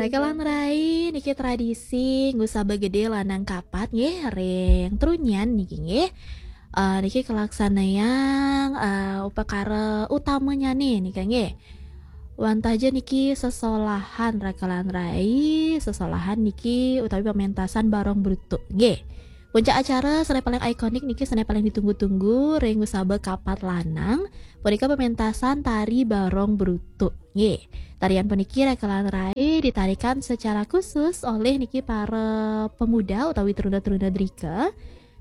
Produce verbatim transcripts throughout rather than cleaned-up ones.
Rekelan rai niki tradisi ngusaba gede lanang kapat nggih ring Trunyan niki nggih. Eh, niki kalaksanayang eh, upakara utamanyane nika nggih. Wantah ja niki sesolahan rekelan rai, sesolahan niki utawi pementasan barong brutuk nggih. Puncak acara sane paling ikonik niki sane paling ditunggu-tunggu ring ngusaba kapat lanang punika pementasan tari barong brutuk nggih. Tarian puniki rekelan rai ditarikan secara khusus oleh niki para pemuda utawi teruna-teruna drika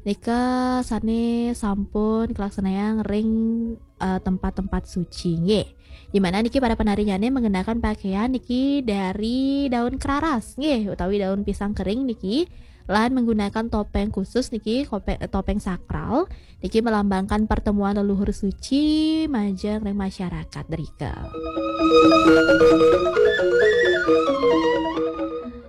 nika sane sampun kalaksanayang ring eh, tempat-tempat suci nggih. Di mana niki para penarinyane menggunakan pakaian niki dari daun keraras nggih utawi daun pisang kering niki lan menggunakan topeng khusus niki kope- topeng sakral niki melambangkan pertemuan leluhur suci majeng ring masyarakat drika.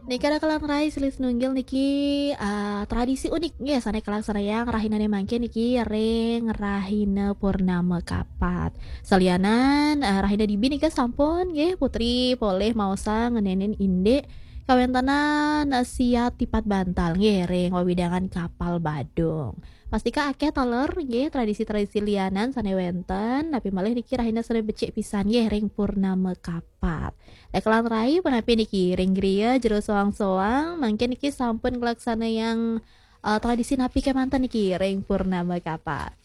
Niki rekelan rai silih sinunggil niki eh, tradisi unik nggih sane kalaksanayang rahinane mangkin niki ring rahina purnama kapat. Salianan eh, rahina dibi nika sampun nggih putri polih maosang ngenenin indik kawentenan eh, siat tipat bantal nggih ring wewidangan Kapal Badung. Pastika akeh taler nggih tradisi-tradisi lianan sane wenten, napi malih niki rahina sane becik pisan nggih ring purnama kapat. Rekelan rai punapi niki ring griya jero soang-soang, mangkin niki sampun nglaksanayang eh, tradisi napi kemanten niki ring purnama kapat.